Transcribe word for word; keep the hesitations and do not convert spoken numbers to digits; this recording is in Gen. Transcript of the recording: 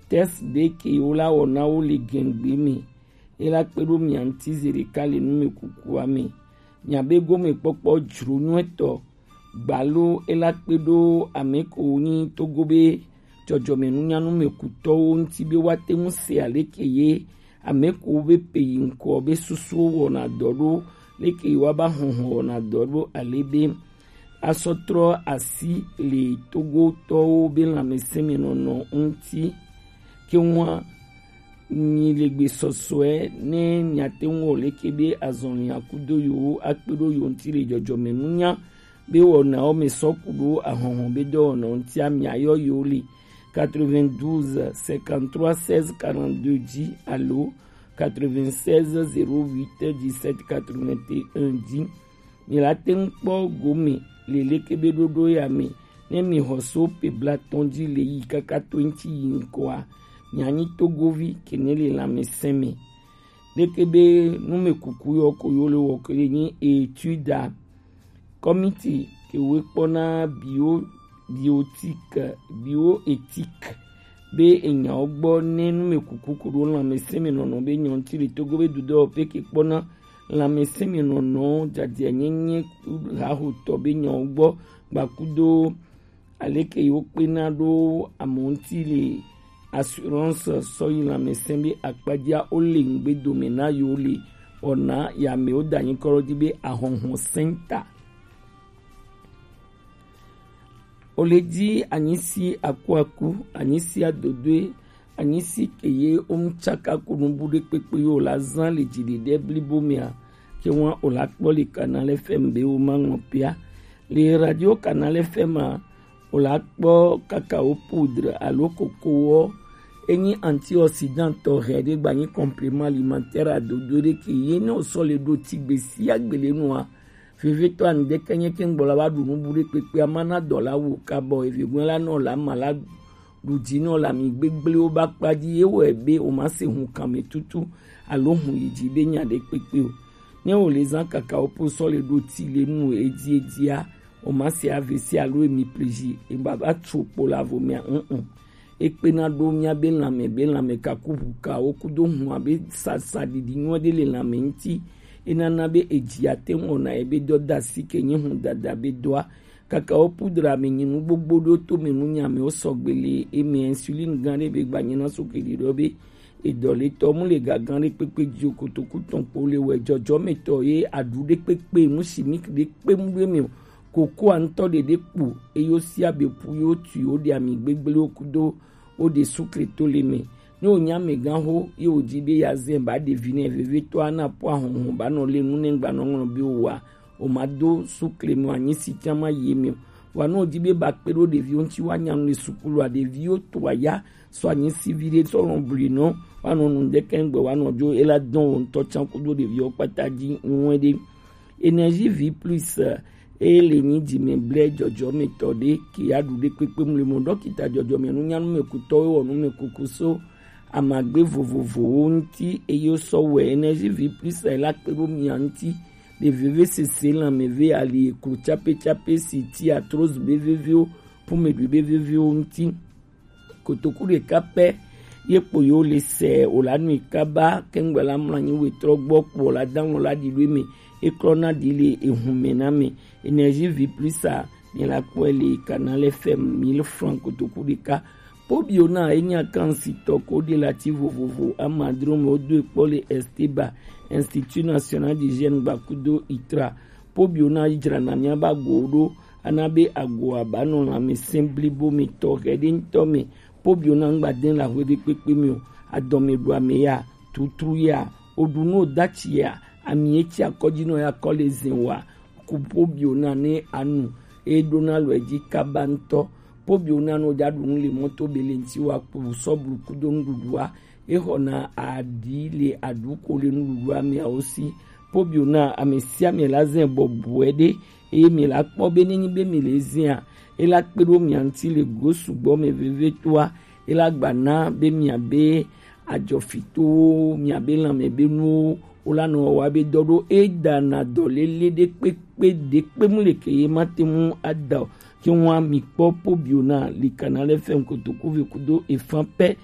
test ɖe ke wo la wɔ na wo le gɛngbe me. E la kpe ɖo mia ŋuti zi ɖeka le numekuku a me. Miabe gomekpɔkpɔ jro nyuitɔ gbalo e la kpe ɖo ame ko nyi Togo be jɔjɔmenunya numekutɔwo ŋuti be woate ŋu se aleke ye ame ko be pe yi ŋkɔ be susuwo wɔna dɔ ɖo, leke ye woaba hɔhɔ wɔna dɔ ɖo ale be asɔ trɔ asi le Togotɔwo be lãmesẽmenɔnɔ ŋuti. Ke ŋua nyi le gbe sɔsɔe ne miate ŋu wɔ leke be azɔlia kudo yewo akpe ɖo yewo ŋuti le jɔjɔmenunya be wɔnawo me sɔ ku ɖo ahɔhɔ be dɔwɔnawo ŋutia miayɔ yewo le quatre-vingt-douze cinquante-trois seize quarante-deux dzi alo quatre-vingt-seize zéro huit dix-sept quatre-vingt-un dzi. Mi la te ŋu kpɔ gome le leke be ɖoɖo ya me ne mi xɔ so pe blatɔn dzi le yi kaka to ŋuti yi ŋkɔa, mianyi togovi ke ne le lãmesẽ me. Leke be numekuku yɔ ko yo le wɔ ke le nyi etuda kɔmiti ke we kpɔna bio biotique bioéthique be enyawo gbɔ ne numekuku ko ɖo lãmesẽ me nɔnɔ be nyɔ ŋuti le Togo be dudɔ pe ke kpɔna lãmesẽmenɔnɔ, dzadzɛnyenye, hahotɔ be nyawo gbɔ gbakudo aleke yewo kpena ɖo amewo ŋuti le assurance sɔ yi lãmesẽ be akpadzia wo le ŋugbe dome na yewo le wɔna ya amewo da anyi kɔ ɖo dzi be ahɔhɔ sɛnta. Wo le dzi anyisi akuaku, anyisi adodoe, anyisi ke ye wo mu tsaka ko nubu ɖe kpekpe yo la zã le dziɖeɖe blibo mea, ke ŋua wo la kpɔ le Canal F M be wo ma ŋlɔ pea. Le radio Canal F M a, wo la kpɔ cacao poudre alo kokowɔ. Enyi antioxydant tɔxɛ ɖe gba nyi complément alimentaire adodo ɖe ke ye ne wo sɔ le ɖo ti gbe sia gbe le nua. Vevitɔ anu ɖeke nye ke ŋgbɔ la wa ɖu nubu ɖe kpekpe ama na dɔ la wo kabɔ evegun la nɔ la ma la ɖu dzi nɔ la mi gbegble wo ba kpa dzi ye wɔ be o ma se hun kan me tutu alo hun yi dzi be nya ɖe kpekpe o. Ne wo le zan kaka wo po sɔ le ɖo ti le nu edzi edzia, o ma se A V C alo emi pleji e ba ba tso kpo la vo mia un un. Ekpena ɖo miabe lãme be lãme kakuʋukawo kudo hũa be sasaɖiɖi nyuiɖe le lãme ŋuti. Enana be edzi ate ŋu wɔna ebe dɔdasi ke nyi hũdada be dɔa. Cacao poudre me nyi nu gbogbo ɖewo to me nu nyi amewo sɔgbe le eme. Insuline gã ɖe be gbanyina so ke ɖiɖɔ be edɔletɔ mu le gagã ɖe kpekpe dzi o. Kotoku tɔn kpo le wɛ jɔjɔmetɔ ye aɖu ɖe kpekpe nu chimique ɖe kpe mu ɖo eme o. Kokoa ŋutɔ ɖeɖe kpo eye wosia be ƒu ye wotui woɖe ami gbegblẽwo kudo woɖe sukle to le me. Ne wònye amegãxo ye wòdi be yeazẽ ba ɖevi nɛ vevitɔa na ƒu ahɔhɔ ba nɔ le nu ne ŋgba nɔ ŋlɔ be wòa, wòmado sukle me wòanyi si tsã ma yi eme o. Vɔa ne wòdi be ba kpe ɖo ɖeviwo ŋuti woanya nu le sukulua, ɖeviwo to aya sɔ anyi si viɖe sɔ lɔn blinɔ woanɔ nu ŋdɛkɛ ŋgbe woanɔ dzo ela dɔn wo ŋutɔ tsã kudo ɖeviwo kpata dzi ŋuɛ ɖe. Énergie vie plus eye le nyi dzime blɛ jɔjɔmetɔ ɖe ke ya ɖu ɖe kpekpe mlemo ɖɔkita jɔjɔme nunyanu me kutɔwo wɔ nume kuku so amagbe vovovowo ŋuti eye wosɔ wɛ. Énergie vie plus la kpe ɖo mia ŋuti le veve sese lãme ve ali eklo tsape tsape si ti arthrose be veviwo, pumeɖui be veviwo ŋuti. Kotoku ɖeka pɛ ye kpo yewo le sɛ wòla nui kaba kɛŋgbɛ la mlɔ anyi wetrɔ gbɔ kpo wòla da ŋlɔ la ɖi ɖo eme. Eklɔ na ɖi le ehun me na me. Énergie vie plus a mi la kpɔe le Canal F M mille francs kotoku ɖeka. Pobiona enye akansitɔ ko ɖe lati vovovo amadro me wodo ekpɔ le Esteba, Institut National d'Hygiène gbakudo itra. Pobiona dzrana miaba go ɖo ana be agoa ba nɔ lãmesẽ blibo me tɔ xɛ ɖe ŋutɔ me. Pobiona ŋgba de la hwe ɖe kpekpe me o. Adɔme ɖu ame ya, tutru ya, oɖu nu odatsi ya, ami etsi akɔdzi nɔ ya kɔ le zẽ wa. Ku pobiona ne anu e ɖona lɔ edzi kaba ŋutɔ. Pobiona no ja ɖu nu le mɔto be le ŋti wa kpu sɔblu kudo nuɖuɖua. Exɔna aɖi le aɖuko le nuɖuɖua meawo si. Pobiona ame sia ame la zẽ bɔbɔe ɖe eye mi la kpɔ be nenyi be mi le zẽa, e la kpe ɖo mia ŋuti le go sugbɔ me vevitɔa. E la gba na be miabe adzɔfitowo, miabe lãme be nuwo wo la nɔ wɔa be dɔ ɖo e dana dɔlele ɖe kpekpe ɖe kpe mu le ke ye ma te ŋu ada o. Ke ŋua mi kpɔ pobiona le Canal F M kotoku ve kudo efan pɛ